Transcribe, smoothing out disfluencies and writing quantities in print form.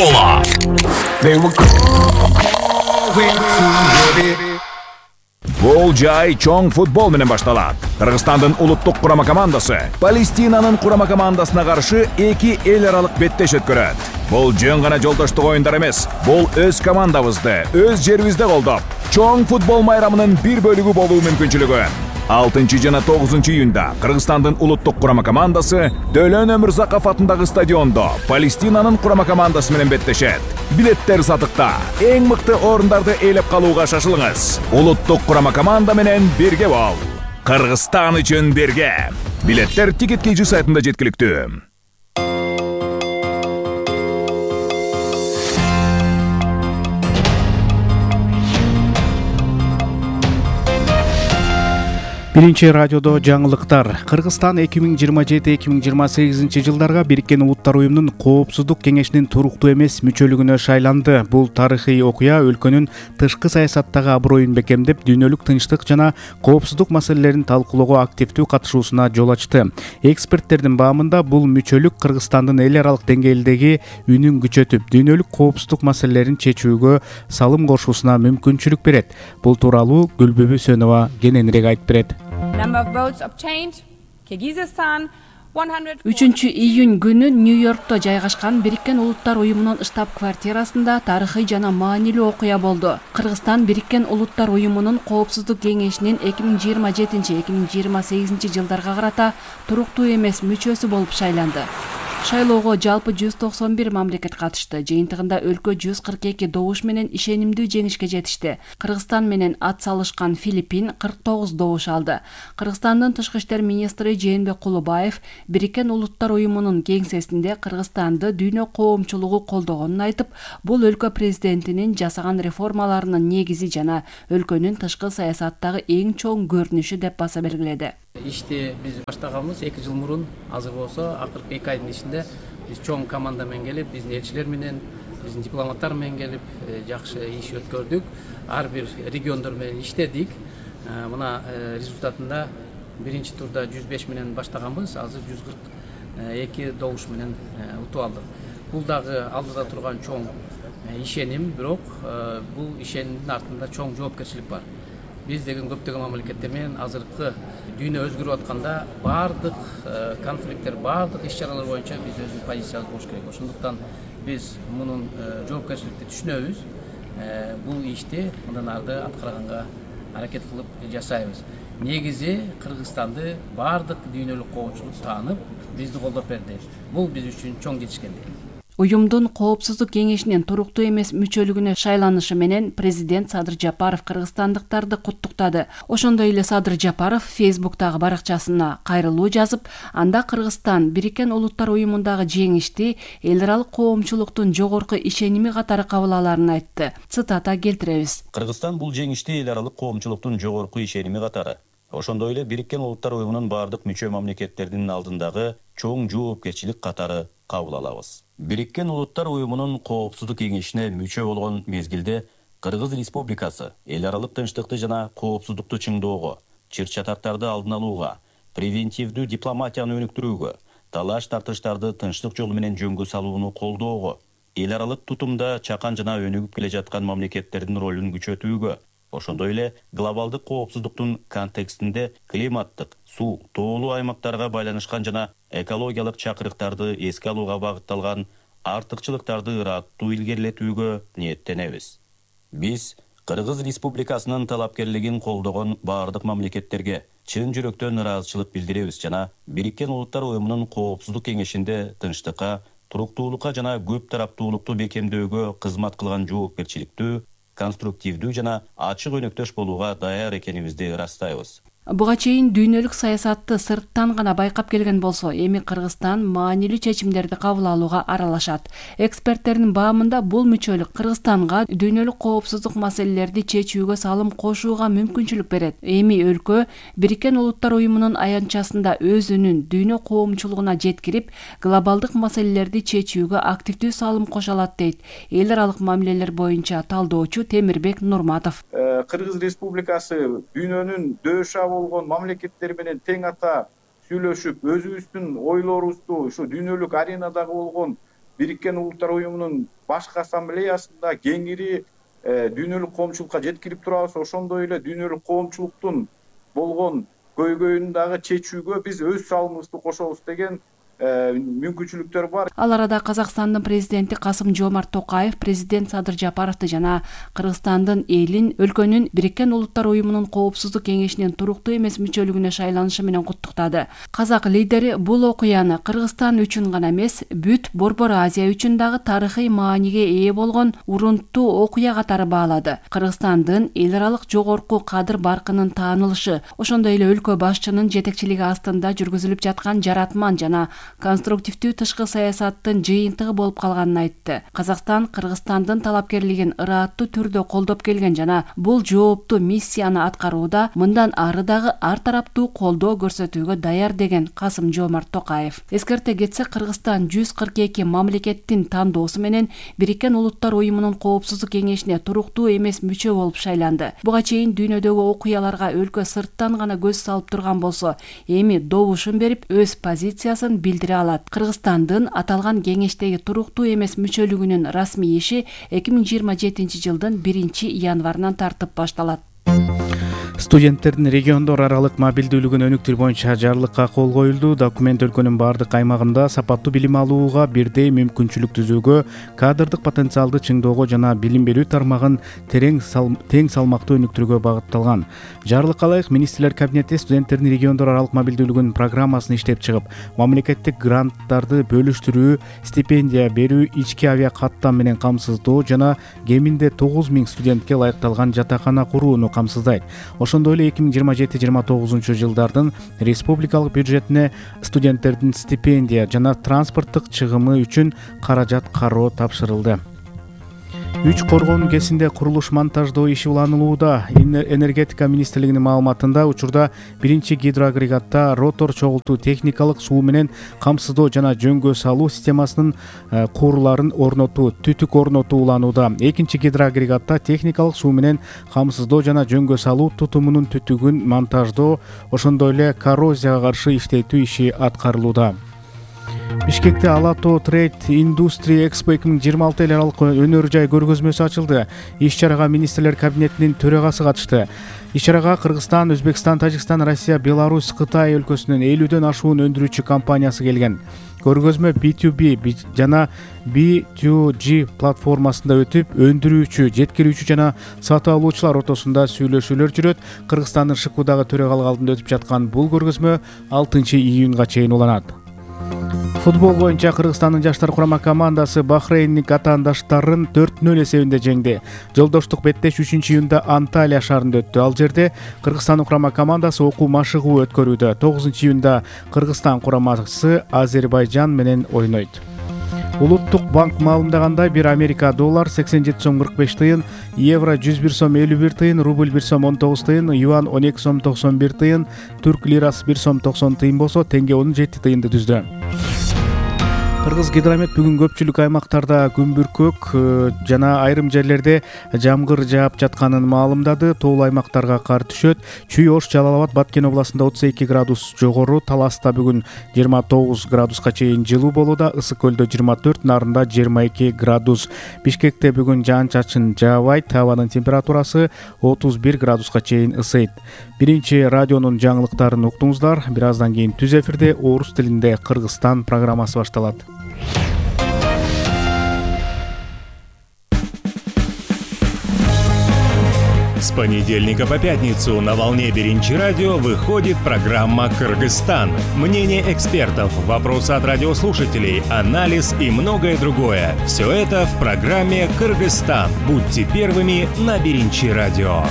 школа. Бул жай чоң футбол менен башталат. Кыргызстандын улуттук курама командасы Палестинанын курама командасына каршы эки эл аралык беттеш өткөрөт. Бул жөн гана жолдоштук оюндар эмес. Бул өз командабызды, өз жерибизде колдоп, чоң футбол майрамынын бир бөлүгү болуу мүмкүнчүлүгү. 6 жана 9 июнда Кыргызстандын улуттук курама командасы Дөлөн Өмүрзаков атындагы стадиондо Палестинанын курама командасы менен беттешет. Билеттер сатыкта. Эң мыкты орундарды ээлеп калууга шашылыңыз. Улуттук курама команда менен бирге бол. Кыргызстан үчүн бирге. Билеттер Ticket.kg сайтында жеткиликтүү. Биринчи радиодо жаңылыктар. Кыргызстан 2027-2028 жылдарга Бириккен Улуттар уюмунун Коопсуздук кеңешинин туруктуу эмес мүчөлүгүнө шайланды. Бул тарыхый окуя өлкөнүн тышкы саясаттагы аброюн бекемдеп, дүйнөлүк тынчтык жана коопсуздук маселелерин талкуулоого активдүү катышуусуна жол ачты. Эксперттердин баамында бул мүчөлүк Кыргызстандын эл аралык деңгээлдеги үнүн күчөтүп, дүйнөлүк коопсуздук маселелерин чечүүгө салым кошуусуна мүмкүнчүлүк берет. Бул тууралуу Гүлбүбү Сөнова кененирээк айтып берет. 3-июнь күнү Нью-Йоркто жайгашкан Бириккен Улуттар уюмунун штаб-квартирасында тарыхый жана маанилүү окуя болду. Кыргызстан Бириккен Улуттар уюмунун Коопсуздук кеңешинин 2027-2028 жылдарга карата туруктуу эмес мүчөсү болуп шайланды. Шайлоого жалпы 191 мамлекет катышты. Жыйынтыгында өлкө 142 добуш менен ишенимдүү жеңишке жетишти. Кыргызстан менен ат салышкан Филиппин 49 добуш алды. Кыргызстандын тышкы иштер министри Жээнбек Кулубаев Бириккен Улуттар уюмунун кеңсесинде Кыргызстанды дүйнө коомчулугу колдогонун айтып, бул өлкө президентинин жасаган реформаларынын негизи жана өлкөнүн тышкы саясаттагы эң чоң көрүнүшү деп баса белгиледи. Ишти биз баштаганбыз 2 жыл мурун. Азыр болсо акыркы 2 айдын ичинде биз чоң команда менен келип, биздин элчилер менен, биздин дипломаттар менен келип жакшы иш өткөрдүк. Ар бир региондор менен иштедик. Мына результатында биринчи турда 105 менен баштаганбыз, азыр 142 добуш менен утуп алдык. Бул дагы алдыда турган чоң ишеним, бирок бул ишенимдин артында чоң жоопкерчилик бар. Биз деген көптөгөн мамлекеттер менен азыркы дүйнө өзгөрүп атканда бардык конфликттер, бардык иш-чаралар боюнча биз өзүбүздүн позициябыз болуш керек. Ошондуктан биз мунун жоопкерчиликти түшүнөбүз. Бул ишти мындан арды аткарганга аракет кылып жасайбыз. Негизи Кыргызстанды бардык дүйнөлүк коомчулук таанып, бизди колдоп берди. Бул биз үчүн чоң жетишкендик. Уюмдун Коопсуздук кеңешинин туруктуу эмес мүчөлүгүнө шайланышы менен президент Садыр Жапаров кыргызстандыктарды куттуктады. Ошондой эле Садыр Жапаров Фейсбуктагы баракчасына кайрылуу жазып, анда Кыргызстан Бириккен Улуттар уюмундагы жеңишти эл аралык коомчулуктун жогорку ишеними катары кабыл аларын айтты. Цитата келтиребиз. Кыргызстан бул жеңишти эл аралык коомчулуктун жогорку ишеними катары, ошондой эле Бириккен Улуттар уюмунун бардык мүчө мамлекеттердин алдындагы чоң жоопкерчилик катары кабыл алабыз. Бириккен Улуттар уюмунун Коопсуздук кеңешине мүчө болгон мезгилде Кыргыз Республикасы эл аралык тынчтыкты жана коопсуздукту чыңдоого, чыр-чатактарды алдын алууга, превентивдүү дипломатияны өнүктүрүүгө, талаш-тартыштарды тынчтык жолу менен жөнгө салууну колдоого, эл аралык тутумда чакан жана өнүгүп келе жаткан мамлекеттердин ролун күчөтүүгө, ошондой эле глобалдык коопсуздуктун контекстинде климаттык, суу, тоолуу аймактарга байланышкан жана экологиялык чакырыктарды эске алууга багытталган артыкчылыктарды ыраттуу илгерилетүүгө ниеттенебиз. Биз Кыргыз Республикасынын талапкерлигин колдогон бардык мамлекеттерге чын жүрөктөн ыраазычылык билдиребиз жана Бириккен Улуттар уюмунун Коопсуздук кеңешинде тынчтыкка, туруктуулукка жана көп тараптуулукту бекемдөөгө кызмат кылган жоопкерчиликтүү, конструктивдүү жана ачык өнөктөш болууга даяр экенибизди ырастайбыз. Буга чейин дүйнөлүк саясатты сырттан гана байкап келген болсо, эми Кыргызстан маанилүү чечимдерди кабыл алууга аралашат. Эксперттердин баамында бул мүчөлүк Кыргызстанга дүйнөлүк коопсуздук маселелерди чечүүгө салым кошууга мүмкүнчүлүк берет. Эми өлкө Бириккен Улуттар уюмунун аянтчасында өз үнүн дүйнө коомчулугуна жеткирип, глобалдык маселелерди чечүүгө активдүү салым кошо алат дейт эл аралык мамилелер боюнча талдоочу Темирбек Нурматов. Кыргыз Республикасы дүйнөнүн дөшө болгон мамлекеттер менен тең ата сүйлөшүп, өзүбүздүн ойлорубузду ушу дүйнөлүк аренадагы болгон Бириккен Улуттар Уюмунун башкы ассамблеясында кеңири дүйнөлүк коомчулукка жеткирип турабыз. Ошондой эле дүйнөлүк коомчулуктун болгон көйгөйүн дагы чечүүгө биз өз салымыбызды кошобуз деген мүмкүнчүлүктөр бар. Ал арада Казакстандын президенти Касым-Жомарт Токаев президент Садыр Жапаровду жана Кыргызстандын элин өлкөнүн Бириккен Улуттар Уюмунун Коопсуздук кеңешинин туруктуу эмес мүчөлүгүнө шайланышы менен куттуктады. Казак лидери бул окуяны Кыргызстан үчүн гана эмес, бүт Борбор Азия үчүн дагы тарыхый мааниге ээ болгон урунттуу окуя катары баалады. Кыргызстандын эл аралык жогорку кадыр баркынын таанылышы, ошондой эле өлкө башчынын жетекчилиги астында жүргүзүлүп жаткан жаратман жана конструктивдүү тышкы саясаттын жыйынтыгы болуп калганын айтты. Казакстан Кыргызстандын талапкерлигин ырааттуу түрдө колдоп келген жана бул жооптуу миссияны аткарууда мындан ары дагы ар тараптуу колдоо көрсөтүүгө даяр деген Касым-Жомарт Токаев. Эскерте кетсек, Кыргызстан 142 мамлекеттин тандоосу менен Бириккен Улуттар Уюмунун Коопсуздук кеңешине туруктуу эмес мүчө болуп шайланды. Буга чейин дүйнөдөгү окуяларга өлкө сырттан гана көз салып турган болсо, эми добушун берип өз позициясын билдире алат. Кыргызстандын аталган кеңештеги туруктуу эмес мүчөлүгүнүн расмий иши 2027 жылдын 1-январынан тартып башталат. Студенттердин региондор аралык мобилдүүлүгүн өнүктүрүү боюнча жарлыкка кол коюлду. Документ өлкөнүн бардык аймагында сапаттуу билим алууга бирдей мүмкүнчүлүк түзүүгө, кадрдык потенциалды чыңоого жана билим берүү тармагын тең салмактуу өнүктүрүүгө багытталган. Жарлыкка ылайык министрлер кабинети студенттердин региондор аралык мобилдүүлүгүнүн программасын иштеп чыгып, мамлекеттик гранттарды бөлүштүрүү, стипендия берүү, ички авиа каттам менен камсыздоо жана кеминде 9000 студентке ылайыкталган жатакана курууну камсыздайт. Ошондой эле 2027-29 жылдардын республикалык бюджетине студенттердин стипендия жана транспорттук чыгымы үчүн каражат кароо тапшырылды. 3 коргоонун кесинде курулуш монтаждоо иши уланылууда. Энергетика министрлигинин маалыматында учурда 1-гидроагрегатта ротор чогултуу техникалык суу менен камсыздоо жана жөнгө салуу системасынын курларын орнотуу, түтүк орнотуу уланууда. 2-гидроагрегатта техникалык суу менен камсыздоо жана жөнгө салуу тутумунун түтүгүн монтаждоо, ошондой эле коррозияга каршы иштетүү иши аткарылууда. Бишкекте Ала-Тоо Trade Industry Expo 2026 эл аралык өнөр жай көргөзмөсү ачылды. Иш-чарага министрлер кабинетинин төрагасы катышты. Иш-чарага Кыргызстан, Өзбекстан, Тажикстан, Россия, Беларусь, Кытай өлкөсүнүн 50дөн ашуун өндүрүүчү компаниясы келген. Көргөзмө B2B жана B2G платформасында өтүп, өндүрүүчү, жеткирүүчү жана сатып алуучулар ортосунда сүйлөшүүлөр жүрөт. Кыргызстандын Шыкуудагы төрагалык алдында өтүп жаткан бул көргөзмө 6-июнга чейин уланат. Футбол боюнча Кыргызстандын жаштар курама командасы Бахрейндин атаандаштарын 4-0 эсебинде жеңди. Жолдоштук беттеш 3-июнда Анталия шаарында өттү. Ал жерде Кыргызстандын курама командасы окуу машыгуу өткөрүүдө. 9-июнда Кыргызстан курамасы Азербайжан менен ойнойт. Улуттук банк маалымдагандай, бир Америка доллар 87 сом 45 тыйын, евро 101 сом 51 тыйын, рубль 1 сом 19 тыйын, юан 12 сом 91 тыйын, түрк лирасы 1 сом 90 тыйын болсо, теңге 17 тыйынды түздү. Кыргыз гидромет бүгүн көпчүлүк аймактарда күнбүркөк жана айрым жерлерде жамгыр жаап жатканын маалымдады. Тоолуу аймактарга кар түшөт. Чүй, Ош, Жалал Абад, Баткен областында 32 градус жогору, Таласта бүгүн 29 градуска чейин жылуу болууда, Ысык көлдө 24, Нарында 22 градус. Бишкекте бүгүн жаан-чачын жаабайт, абанын температурасы 31 градуска чейин ысыйт. Биринчи радионун жаңылыктарын уктуңуздар. Бир аздан кийин түз эфирде орус тилинде Кыргызстан программасы башталат. С понедельника по пятницу на волне Биринчи радио выходит программа «Кыргызстан». Мнение экспертов, вопросы от радиослушателей, анализ и многое другое. Все это в программе «Кыргызстан». Будьте первыми на Биринчи радио.